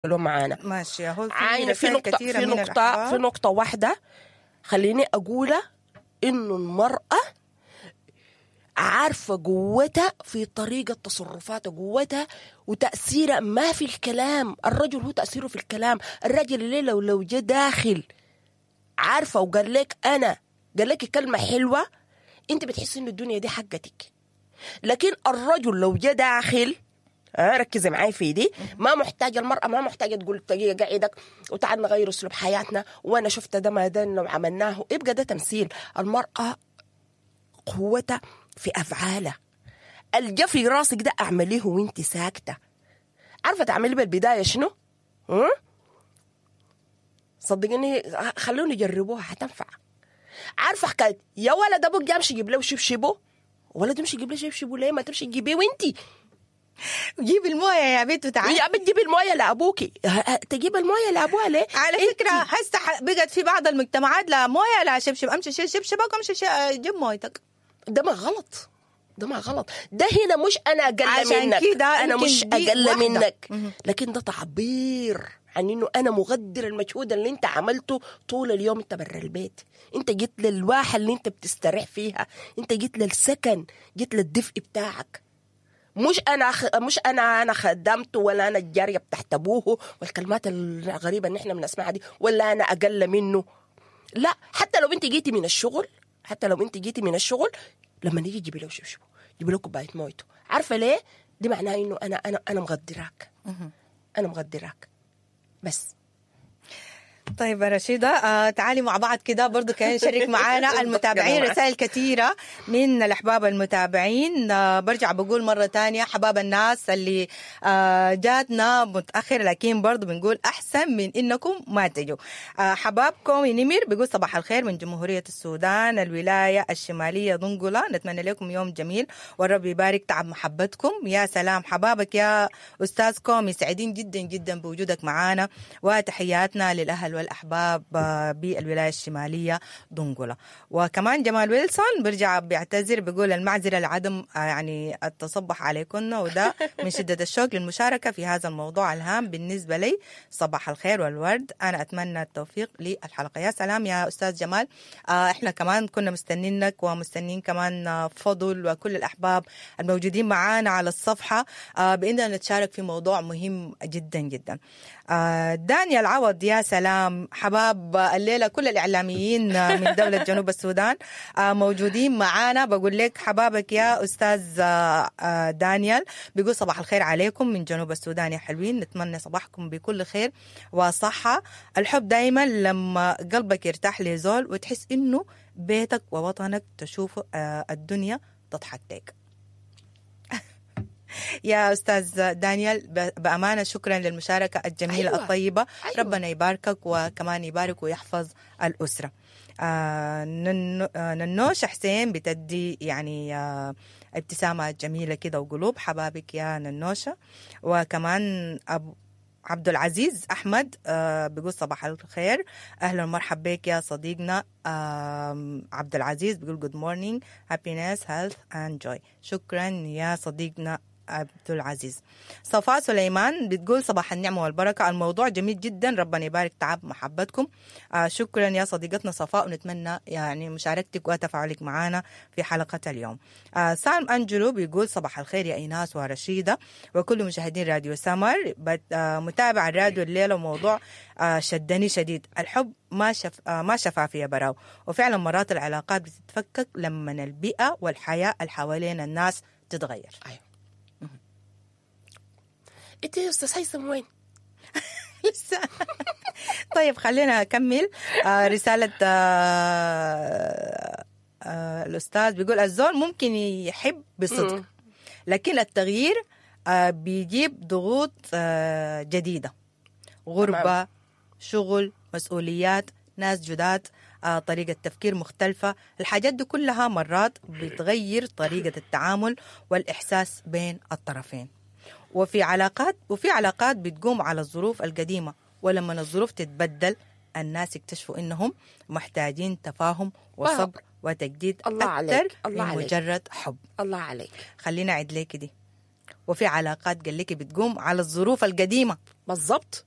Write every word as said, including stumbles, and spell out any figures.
معانا. ماشي، هو في عاينة في رسائل نقطة كثيرة في من نقطة الأحباب. في نقطة واحدة خليني أقولها، إنه المرأة عارفة قوتها في طريقة تصرفاتها، قوتها وتأثيرها ما في الكلام. الرجل هو تأثيره في الكلام. الرجل اللي لو لو جا داخل عارفة وقال لك أنا قال لك كلمة حلوة، أنت بتحسي إنه الدنيا دي حقتك. لكن الرجل لو جا داخل، آه ركزي معاي في دي، ما محتاجة المرأة، ما محتاجة تقول دقيقة قعدك وتعال نغير أسلوب حياتنا وأنا شفت ده ما ده وعملناه، يبقى ده تمثيل. المرأة قوتها في أفعالها. الجا في راسك ده أعمليه وانت ساكتة. عارفة تعملي بالبداية شنو؟ هم؟ صدقيني خلوني يجربوها حتنفع. عارفة حكاية يا ولد أبوك جا امشي جيب له شبشبه، ولد يمشي يجيب له شبشبه ليه؟ ما تمشي تجيبيه وانتي جيب المويه يا بنت وتعالي. يا بنت جيبي المويه لابوكي. تجيب المويه لابوها ليه؟ على فكرة هسه بقت في بعض المجتمعات لا مويه لا شبشب، امشي شيل شبشبك وامشي جيب مويتك. ده ما غلط، ده ما غلط. ده هنا مش انا اقل عشان منك، كده انا مش اقل واحدة. منك، لكن ده تعبير عن انه انا مقدر المجهود اللي انت عملته طول اليوم. انت برا البيت، انت جيت للواحه اللي انت بتستريح فيها، انت جيت للسكن، جيت للدفء بتاعك. مش انا خ... مش انا انا خدمته ولا انا الجارية بتاعت ابوه والكلمات الغريبة اللي احنا بنسمعها دي، ولا انا اقل منه. لا، حتى لو انت جيتي من الشغل، حتى لو انت جيتي من الشغل لما نيجي جيبي له شبشبه، جيبي له كوباية مويته. عارفه ليه؟ دي معناها انه انا انا انا مغدراك، انا مغدراك بس. طيب يا رشيدة، آه تعالي مع بعض كده برضو كان شارك معانا المتابعين رسائل كثيرة من الأحباب المتابعين. آه برجع بقول مرة تانية حباب الناس اللي آه جاتنا متأخر، لكن برضو بنقول أحسن من إنكم ما تجوا. آه حبابكم نمر بيقول صباح الخير من جمهورية السودان الولاية الشمالية دنقلة، نتمنى لكم يوم جميل والرب يبارك تعب محبتكم. يا سلام حبابك يا أستاذ كومي، سعيدين جدا جدا بوجودك معانا، وتحياتنا للأهل والأحباب بالولاية الشمالية دنقلة. وكمان جمال ويلسون برجع بيعتذر بيقول المعذرة لعدم يعني التصبح عليكن، وده من شدة الشوق للمشاركة في هذا الموضوع الهام بالنسبة لي. صباح الخير والورد، أنا أتمنى التوفيق للحلقة. يا سلام يا أستاذ جمال، احنا كمان كنا مستنينك ومستنين كمان فضل وكل الأحباب الموجودين معانا على الصفحة بإننا نتشارك في موضوع مهم جدا جدا. دانيال عوض، يا سلام حباب الليلة كل الإعلاميين من دولة جنوب السودان موجودين معانا. بقول لك حبابك يا أستاذ دانيال، بيقول صباح الخير عليكم من جنوب السودان يا حلوين، نتمنى صباحكم بكل خير وصحة. الحب دايما لما قلبك يرتاح لزول وتحس إنه بيتك ووطنك تشوف الدنيا تضحك لك. يا أستاذ دانيال بأمانة شكرا للمشاركة الجميلة. أيوة. الطيبة. أيوة. ربنا يباركك وكمان يبارك ويحفظ الأسرة. آه ننوش حسين بتدي يعني آه ابتسامة جميلة كده وقلوب، حبابك يا ننوشة. وكمان أبو عبد العزيز أحمد آه بيقول صباح الخير، أهلا ومرحبا بك يا صديقنا آه عبد العزيز، بيقول good morning happiness health and joy. شكرا يا صديقنا عبد العزيز. صفاء سليمان بتقول صباح النعمة والبركة، الموضوع جميل جدا، ربنا يبارك تعب محبتكم. آه شكرا يا صديقتنا صفاء، ونتمنى يعني مشاركتك وتفاعلك معنا في حلقة اليوم. آه سالم أنجلو بيقول صباح الخير يا إيناس ورشيدة وكل مشاهدين راديو سمر، آه متابع الراديو الليلة وموضوع آه شدني شديد، الحب ما شف آه ما شفافية براو، وفعلا مرات العلاقات بتتفكك لما البيئة والحياة اللي حوالين الناس تتغير. أيوة. انت يا استاذ هيثم وين؟ لسه. طيب خلينا اكمل آه رسالة آه آه الاستاذ. بيقول الزول ممكن يحب بصدق، لكن التغيير آه بيجيب ضغوط آه جديدة، غربه، شغل، مسؤوليات، ناس جداد، آه طريقه تفكير مختلفة. الحاجات دي كلها مرات بتغير طريقه التعامل والاحساس بين الطرفين. وفي علاقات وفي علاقات بتقوم على الظروف القديمة، ولما الظروف تتبدل الناس يكتشفوا إنهم محتاجين تفاهم وصبر وتجديد الله أكثر عليك. الله من عليك. مجرد حب. الله عليك. خلينا أعد لك دي. وفي علاقات قال لك بتقوم على الظروف القديمة. بالضبط.